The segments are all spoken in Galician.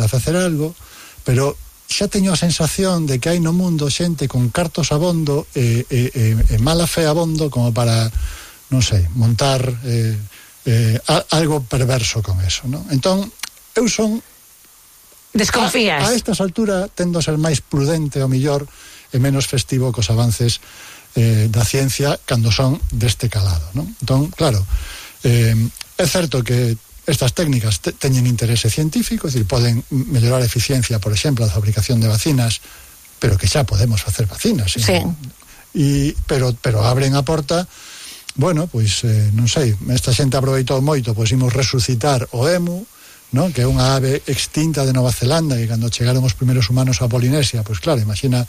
a facer algo, pero xa teño a sensación de que hai no mundo xente con cartos abondo e mala fe abondo como para, non sei, montar algo perverso con eso, non? Entón, eu son... Desconfías. A estas alturas tendo a ser máis prudente ao millor e menos festivo cos avances da ciencia cando son deste calado, non? Entón, claro, é certo que estas técnicas teñen interese científico, é dicir, poden mellorar a eficiencia, por exemplo, a fabricación de vacinas, pero que xa podemos facer vacinas, sí. Pero abren a porta. Bueno, pois, non sei, esta xente aproveitou moito, pois imos resucitar o emu, non? Que é unha ave extinta de Nova Zelanda, que cando chegaron os primeiros humanos a Polinesia, pois claro, imagina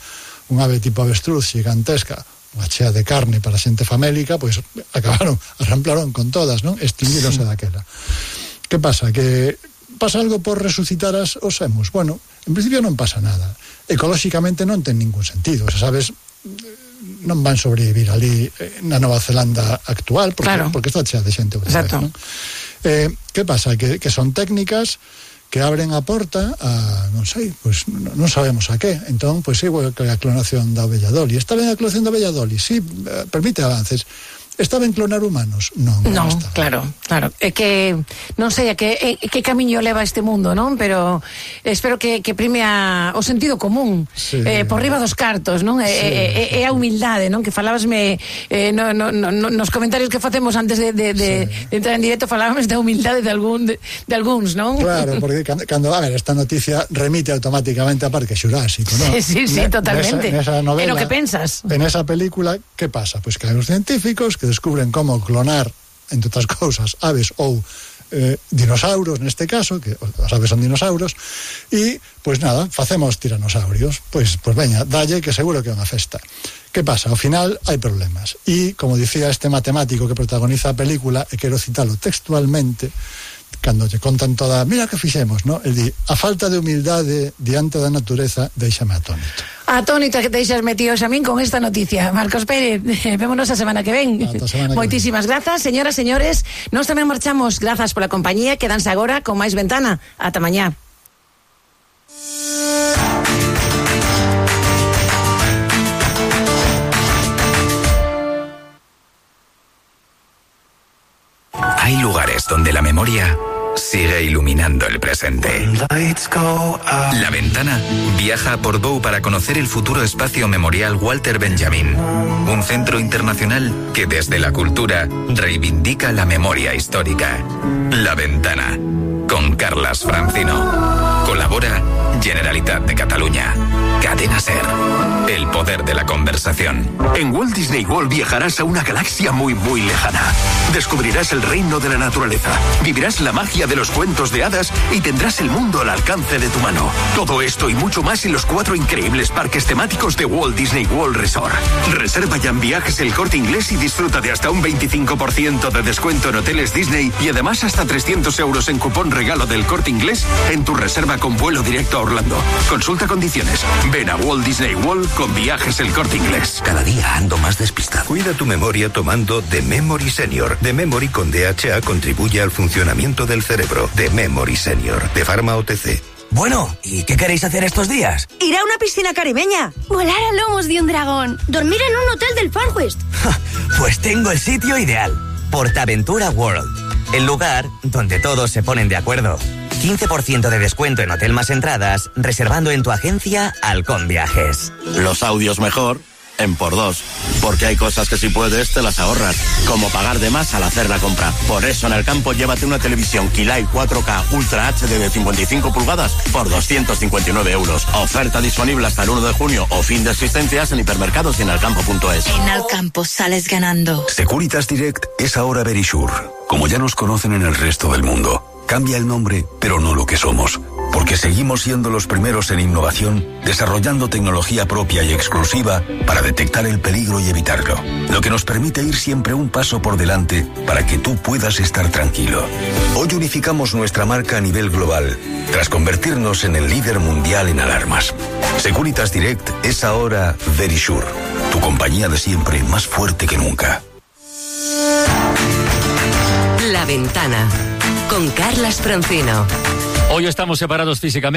unha ave tipo avestruz gigantesca, unha chea de carne para xente famélica, pois arramplaron con todas, non? Extinguíronse daquela. Que pasa? Que pasa algo por resucitar os emus? Bueno, en principio non pasa nada. Ecolóxicamente non ten ningún sentido, sabes, non van sobrevivir ali na Nova Zelanda actual, porque está chea de xente. Exacto. Non? Que pasa? Que son técnicas que abren a porta a, non sei, pois non sabemos a que. Entón, pois igual que a clonación da ovella Dolly. Está ben a clonación da ovella Dolly? Sí, permite avances. Está ben clonar humanos? Non está. Claro. É que non sei a que camiño leva este mundo, non? Pero espero que prime o sentido común, sí. Por riba dos cartos, non? É a humildade, non? Que falábasme nos comentarios que facemos antes de entrar en directo, falábamos da humildade de algúns, non? Claro, porque cando, a ver, esta noticia remite automáticamente a Parque Xurásico, non? Sí, totalmente. Nesa novela, é o que pensas. En esa película, que pasa? Pois que hai os científicos que descubren como clonar, entre outras cousas, aves ou dinosauros, neste caso, que as aves son dinosauros, e, pois nada, facemos tiranosaurios. Pois veña, dalle que seguro que é unha festa. Que pasa? Ao final hai problemas. E, como dicía este matemático que protagoniza a película, e quero citalo textualmente, cando lle contan toda, mira que fixemos, non? El di, a falta de humildade diante da natureza deixame atónito. Atónito que deixas metidos a min con esta noticia. Marcos Pérez, vémonos a semana que ven. Moitísimas grazas, señoras, señores. Nós tamén marchamos, grazas pola compañía. Quedanse agora con máis Ventana. Ata mañá. Hay lugares donde la memoria sigue iluminando el presente. La Ventana viaja a Portbou para conocer el futuro espacio memorial Walter Benjamin, un centro internacional que desde la cultura reivindica la memoria histórica. La Ventana, con Carlas Francino. Colabora Generalitat de Cataluña. Cadena SER. El poder de la conversación. En Walt Disney World viajarás a una galaxia muy, muy lejana. Descubrirás el reino de la naturaleza, vivirás la magia de los cuentos de hadas y tendrás el mundo al alcance de tu mano. Todo esto y mucho más en los 4 increíbles parques temáticos de Walt Disney World Resort. Reserva ya en Viajes El Corte Inglés y disfruta de hasta un 25% de descuento en hoteles Disney y además hasta 300 euros en cupón regalo del Corte Inglés en tu reserva con vuelo directo a Orlando. Consulta condiciones. Ven a Walt Disney World con Viajes El Corte Inglés. Cada día ando más despistado. Cuida tu memoria tomando The Memory Senior. The Memory con DHA contribuye al funcionamiento del cerebro. The Memory Senior, de Pharma OTC. Bueno, ¿y qué queréis hacer estos días? Ir a una piscina caribeña. Volar a lomos de un dragón. Dormir en un hotel del Far West. Pues tengo el sitio ideal. Portaventura World. El lugar donde todos se ponen de acuerdo. 15% de descuento en Hotel más entradas, reservando en tu agencia Halcón Viajes. Los audios mejor en por 2, porque hay cosas que si puedes te las ahorras, como pagar de más al hacer la compra. Por eso en el campo llévate una televisión Kilai 4K Ultra HD de 55 pulgadas por 259 euros. Oferta disponible hasta el 1 de junio o fin de existencias en hipermercados y en alcampo.es. En Alcampo sales ganando. Securitas Direct es ahora Verisure, como ya nos conocen en el resto del mundo. Cambia el nombre, pero no lo que somos, porque seguimos siendo los primeros en innovación, desarrollando tecnología propia y exclusiva para detectar el peligro y evitarlo, lo que nos permite ir siempre un paso por delante para que tú puedas estar tranquilo. Hoy unificamos nuestra marca a nivel global, tras convertirnos en el líder mundial en alarmas. Securitas Direct es ahora Verisure, tu compañía de siempre más fuerte que nunca. La Ventana, con Carlas Francino. Hoy estamos separados físicamente.